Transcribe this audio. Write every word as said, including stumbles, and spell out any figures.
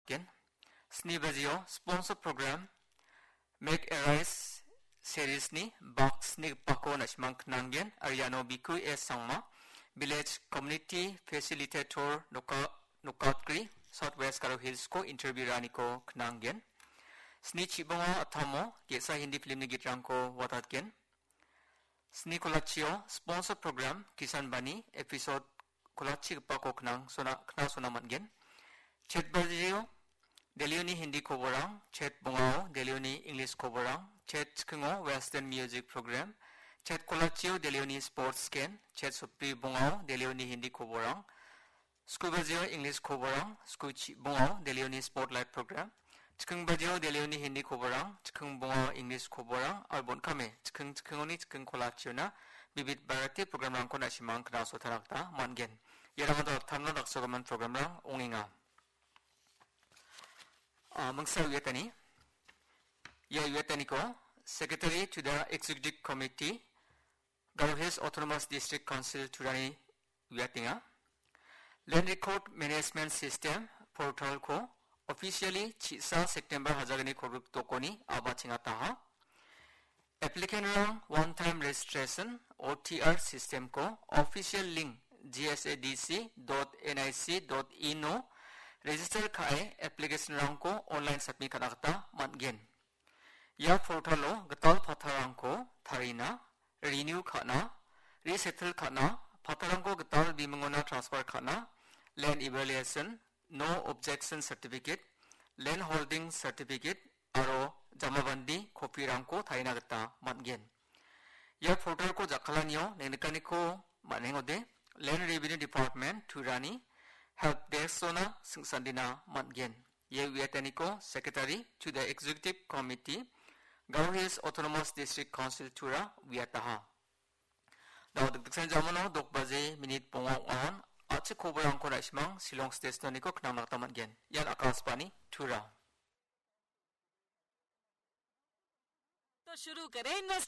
nikgen. Sni bajio sponsor program Make a Rice series-ni bak snigipako na·simang knanggen, aro iano Biku S Sangma, Village Community Facilitator, Noka-, Nokatgri, South West Garo Hills-ko interview-raniko knanggen. Sni chibonga atamo ge·sa Hindi film-ni gitrangko watatgen. Sni kolachio sponsor program Kisan Bani episode kolachigipako knang sona, knasona man·gen. Chet bajio Delhioni Hindi koborang, chet bongao Delhioni English koborang, chet chikingo Western music program, chet kolachio Delhioni sports scan, chet sopri bongao Delhioni Hindi koborang, sku bajio English koborang, sku chibongao Delhioni spotlight program, chiking bajio Delhioni Hindi koborang, chiking bongao English koborang, aro bon·kame chiking chikingoni chiking kolachiona bibit Bharati programrangko na·simang knasotana gita man·gen. Iarang dak-, tamna daksogimin programrang ong·enga. Ah, mingsa uiatani. Ia uiataniko Secretary to the Executive Committee, Garo Hills Autonomous District Council Turani uiatenga. Land Record Management System portal-ko officially chisa September hajalgni kolgrik dokoni a·bachengataha. Applicant-rang one time registration, O T R system-ko official link G S A D C dot N I C dot in-o register ka·e application-rangko online submit ka·na gita man·gen. Ia portal-o gital pattarangko tarina, renew ka·na, resettle ka·na, pattarangko gital bimingona transfer ka·na, land evaluation, no objection certificate, land holding certificate, aro jamabandi copy-rangko tarina gita man·gen. Ia portal-ko jakkalanio nengnikaniko man·engode, Land Revenue Department Turani help desk-ona sing·sandina man·gen. Ia uiataniko Secretary to the Executive Committee, Garo Hills Autonomous District Council Tura uiataha. Dao dikdiksan jamano dok baje minit bonga ong·aon a·chik koborangko na·simang Shillong Station-oniko knangna gita man·gen. Ian Akashvani Tura. तो शुरू करें इन्वेस्ट